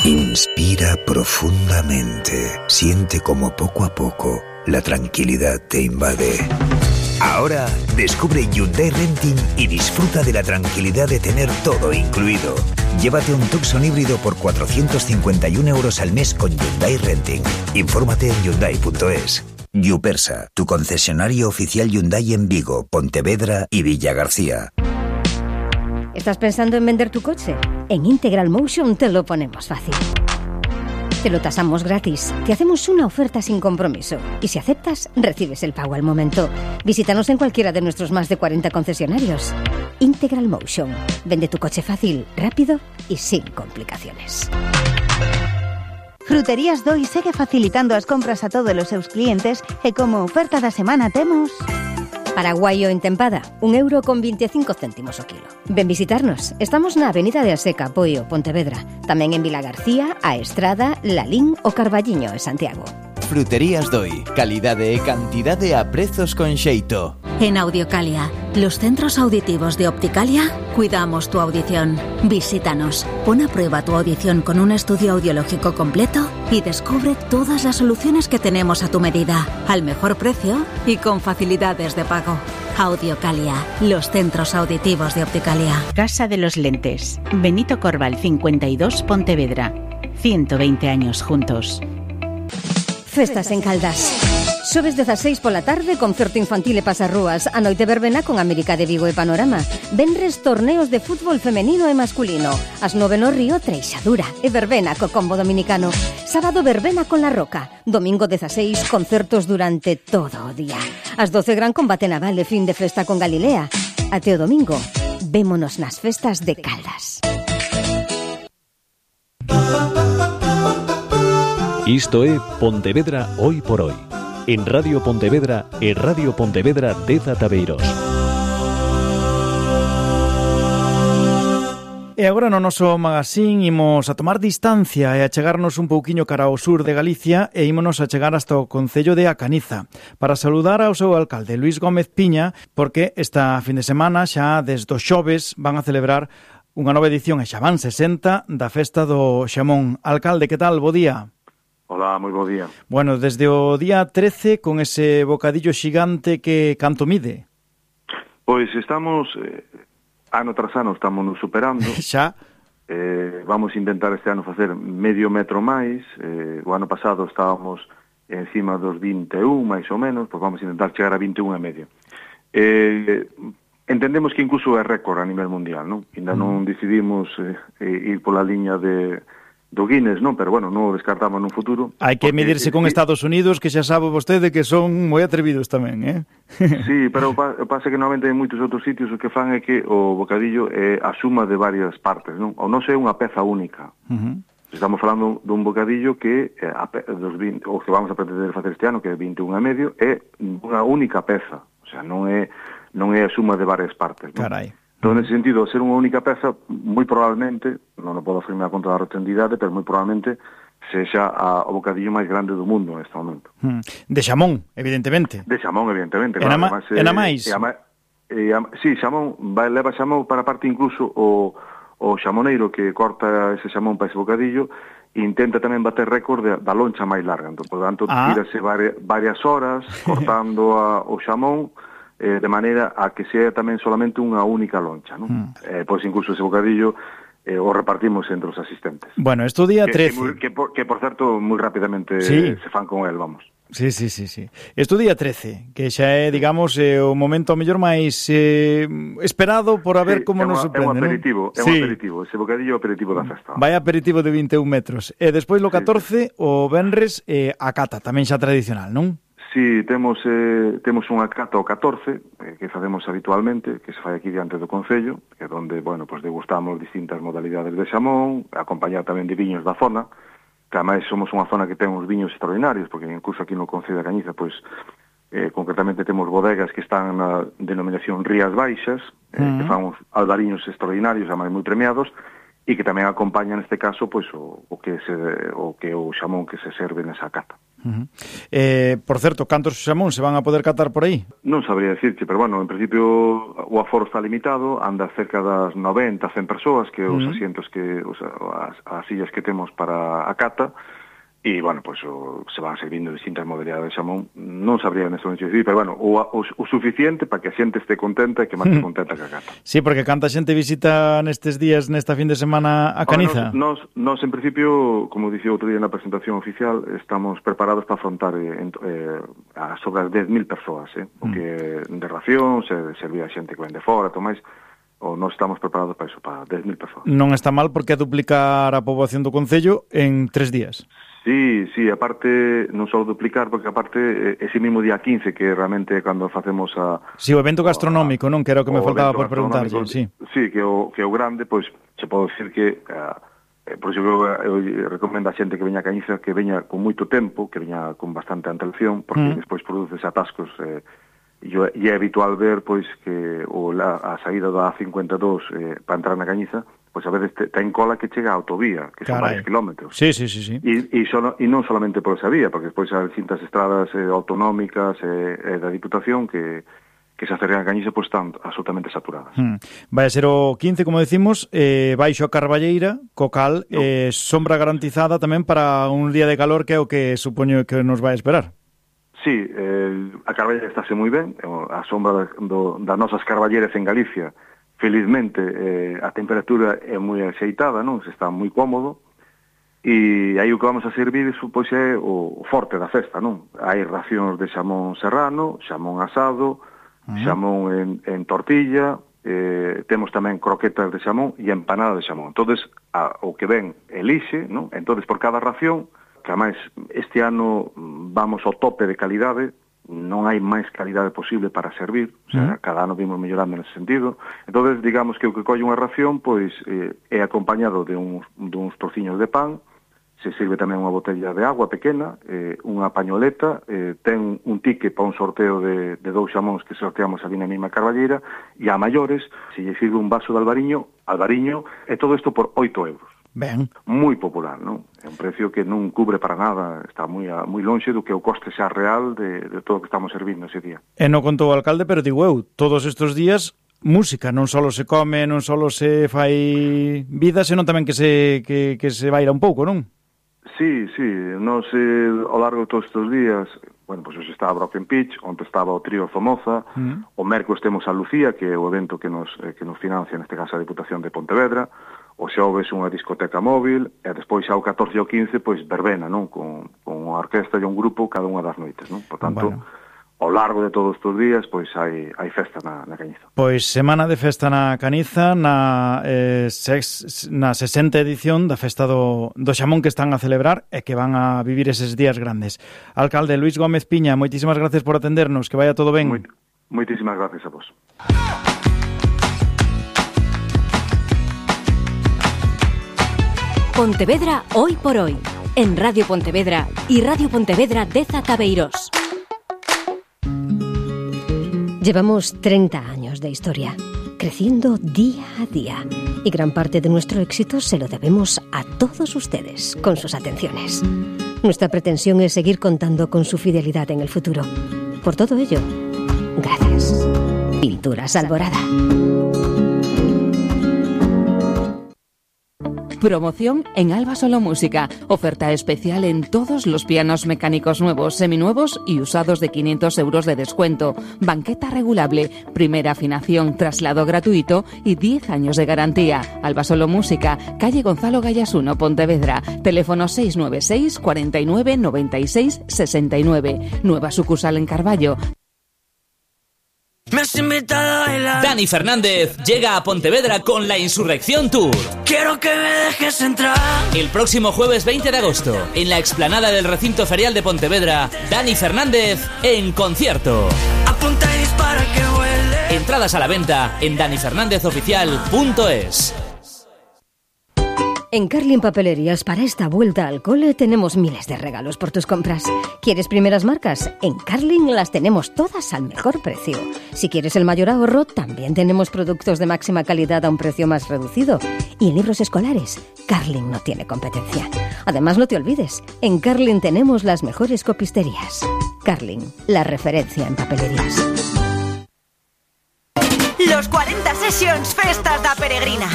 Inspira profundamente. Siente como poco a poco la tranquilidad te invade. Ahora descubre Hyundai Renting y disfruta de la tranquilidad de tener todo incluido. Llévate un Tucson híbrido por 451 euros al mes con Hyundai Renting. Infórmate en Hyundai.es. Yupersa, tu concesionario oficial Hyundai en Vigo, Pontevedra y Villagarcía. ¿Estás pensando en vender tu coche? En Integral Motion te lo ponemos fácil. Te lo tasamos gratis, te hacemos una oferta sin compromiso y si aceptas, recibes el pago al momento. Visítanos en cualquiera de nuestros más de 40 concesionarios. Integral Motion. Vende tu coche fácil, rápido y sin complicaciones. Fruterías Doi segue facilitando as compras a todos os seus clientes e como oferta da semana temos... Paraguayo en tempada, €1,25 o kilo. Ven visitarnos. Estamos na Avenida de Aseca, Poio, Pontevedra. Tamén en Vilagarcía, A Estrada, Lalín o Carballiño, en Santiago. Fruterías Doi. Calidade e cantidade a prezos con xeito. En Audiocalia, los centros auditivos de Opticalia, cuidamos tu audición. Visítanos, pon a prueba tu audición con un estudio audiológico completo y descubre todas las soluciones que tenemos a tu medida, al mejor precio y con facilidades de pago. Audiocalia, los centros auditivos de Opticalia. Casa de los Lentes. Benito Corval 52, Pontevedra. 120 años juntos. Festas en Caldas. Xoves 16 pola tarde, concerto infantil e pasarrúas. A noite verbena con América de Vigo e Panorama. Venres torneos de fútbol femenino e masculino. As 9 no Río, Treixadura e verbena co combo dominicano. Sábado verbena con La Roca. Domingo 16, concertos durante todo o día. As 12 gran combate naval e fin de festa con Galilea. Até o domingo, vémonos nas festas de Caldas. Isto é Pontevedra Hoy por Hoy. En Radio Pontevedra e Radio Pontevedra Deza Tabeiros. E agora no noso magazín imos a tomar distancia e a chegarnos un pouquiño cara ao sur de Galicia e ímonos a chegar hasta o concello de Acaniza para saludar ao seu alcalde Luís Gómez Piña, porque esta fin de semana xa desde os xoves van a celebrar unha nova edición e xa van 60 da festa do xamón. Alcalde, que tal? Bo día. Hola, moi bo día. Bueno, desde o día 13 con ese bocadillo xigante que canto mide? Pois estamos, ano tras ano estamos nos superando. Xa? Vamos a intentar este ano facer medio metro máis. O ano pasado estábamos encima dos 21, máis ou menos, pois vamos a intentar chegar a 21 e medio. Entendemos que incluso é récord a nivel mundial, non? Ainda non decidimos ir pola liña do Guinness, non? Pero bueno, non o descartamos nun futuro. Hai que medirse con Estados Unidos, que xa sabe vostede que son moi atrevidos tamén, eh? Sí, pero pasa que normalmente en moitos outros sitios o que fan é que o bocadillo é a suma de varias partes, non? O non é unha peza única. Estamos falando dun bocadillo que o que vamos a pretender facer este ano, que é 21 e medio, é unha única peza. O sea, non é a suma de varias partes, non? Carai. Entón, nesse sentido, ser unha única peza, moi probablemente, non o podo afirmar con toda a rotundidade, pero moi probablemente sexa o bocadillo máis grande do mundo neste momento. De xamón, evidentemente. De xamón, evidentemente. Claro, e na máis? Sí, xamón, leva xamón para parte incluso o xamoneiro que corta ese xamón para ese bocadillo e intenta tamén bater récord da loncha máis larga. Entón, por tanto, tírase varias horas cortando o xamón, de maneira a que sea tamén solamente unha única loncha, non? Pois incluso ese bocadillo o repartimos entre os asistentes. Bueno, esto día 13. Que por certo, moi rapidamente sí. Se fan con el, vamos. Sí. Esto día 13, que xa é, digamos, o momento mellor máis esperado por a ver como nos sorprende, non? É un aperitivo, ese bocadillo aperitivo da festa. Vai aperitivo de 21 metros. E despois lo 14, o venres, a cata, tamén xa tradicional, non? Sí, temos unha cata o 14, que facemos habitualmente, que se fai aquí diante do Concello, que é onde, bueno, pues degustamos distintas modalidades de xamón, acompañado tamén de viños da zona, que ademais somos unha zona que ten uns viños extraordinarios, porque incluso aquí no Concello de Cañiza, pues, concretamente temos bodegas que están na denominación Rías Baixas, que fan uns albariños extraordinarios, ademais moi premiados, e que tamén acompaña neste caso pues o xamón que se serve nesa cata. Por certo, cantos xamón se van a poder catar por aí? Non sabría decirte, pero bueno, en principio o aforo está limitado, anda cerca das 90, 100 persoas, que os asientos que as sillas que temos para a cata, e, bueno, pues se van servindo distintas modalidades de xamón. Non sabría neste momento decir, pero, bueno, o suficiente para que a xente este contenta e que máis contenta que a cata. Sí, porque canta xente visita nestes días, nesta fin de semana, a Caniza? Nos, en principio, como dicía outro día na presentación oficial, estamos preparados para afrontar a sobre as 10.000 persoas, o que de ración, se servía a xente que ven de fora, tomais, ou non estamos preparados para iso, para 10.000 persoas. Non está mal porque é duplicar a poboación do Concello en 3 días. Sí, aparte, non só duplicar, porque aparte, ese mismo día 15, que realmente cando facemos a... Sí, o evento gastronómico, non? Que era o que me faltaba por preguntarlle, sí. Sí, que o grande, pois, se pode decir que... por iso eu recomendo a xente que veña a Cañiza que veña con moito tempo, que veña con bastante antelación, porque despois produces atascos... E é habitual ver, pois, que a saída da A52 para entrar na Cañiza, pois a veces ten cola que chega a autovía, que son varios kilómetros. Sí. E non solamente por esa vía, porque despois hai distintas estradas autonómicas da Diputación que se acercan a Cañiza, pois están absolutamente saturadas. Vai a ser o 15, como decimos, baixo a Carballeira, co cal, sombra garantizada tamén para un día de calor, que é o que supoño que nos vai a esperar. Sí, a Carballeira estáse moi ben, a sombra das nosas carballeiras en Galicia, felizmente a temperatura é moi axeitada, non? Se está moi cómodo, e aí o que vamos a servir pois é o forte da festa, non? Hai racións de xamón serrano, xamón asado, xamón en tortilla, temos tamén croquetas de xamón e empanada de xamón. Entonces, o que ven elixe, non? Entonces, por cada ración, que además este ano vamos ao tope de calidade, non hai máis calidade posible para servir, o sea, cada ano vimos mellorando nese sentido. Entonces, digamos que o que colle unha ración, pois, é acompañado de uns trociños de pan, se sirve tamén unha botella de agua pequena, unha pañoleta, ten un ticket para un sorteo de 2 xamóns que sorteamos ali na mesma Carballeira, e a maiores, se lle sirve un vaso de albariño, e todo isto por 8 euros. Ben. Moi popular, non? É un precio que non cubre para nada, está moi lonxe do que o coste xa real de todo o que estamos servindo ese día. E non contou o alcalde, pero digo eu, todos estes días música, non só se come, non só se fai vida, senón tamén que se baila un pouco, non? Sí, nos ao largo de todos estes días, bueno, pois hoxe estaba Broken Pitch, onde estaba o trío Zomoza, o mércores temos a Lucía, que é o evento que nos financia, neste caso a Diputación de Pontevedra, o xoves unha discoteca móvil, e despois xa o 14 e o 15, pois verbena, non? Con unha orquesta e un grupo cada unha das noites, non? Por tanto, ao largo de todos estes días, pois hai festa na Cañiza. Pois semana de festa na Caniza, na 60ª edición da festa do xamón que están a celebrar e que van a vivir eses días grandes. Alcalde Luis Gómez Piña, moitísimas gracias por atendernos, que vaya todo ben. Moitísimas gracias a vos. Pontevedra hoy por hoy, en Radio Pontevedra y Radio Pontevedra de Zabeiros. Llevamos 30 años de historia, creciendo día a día, y gran parte de nuestro éxito se lo debemos a todos ustedes, con sus atenciones. Nuestra pretensión es seguir contando con su fidelidad en el futuro. Por todo ello, gracias. Pinturas Alborada. Promoción en Alba Solo Música. Oferta especial en todos los pianos mecánicos nuevos, seminuevos y usados de 500 euros de descuento. Banqueta regulable, primera afinación, traslado gratuito y 10 años de garantía. Alba Solo Música, calle Gonzalo Gallas 1, Pontevedra. Teléfono 696 49 96 69. Nueva sucursal en Carballo. Me has invitado a bailar. Dani Fernández llega a Pontevedra con la Insurrección Tour. Quiero que me dejes entrar. El próximo jueves 20 de agosto, en la explanada del recinto ferial de Pontevedra, Dani Fernández en concierto. Apunta y dispara que huele. Entradas a la venta en danifernández.oficial.es. En Carlin Papelerías, para esta vuelta al cole, tenemos miles de regalos por tus compras. ¿Quieres primeras marcas? En Carlin las tenemos todas al mejor precio. Si quieres el mayor ahorro, también tenemos productos de máxima calidad a un precio más reducido. Y en libros escolares, Carlin no tiene competencia. Además, no te olvides, en Carlin tenemos las mejores copisterías. Carlin, la referencia en papelerías. Los 40 Sessions Festas da Peregrina.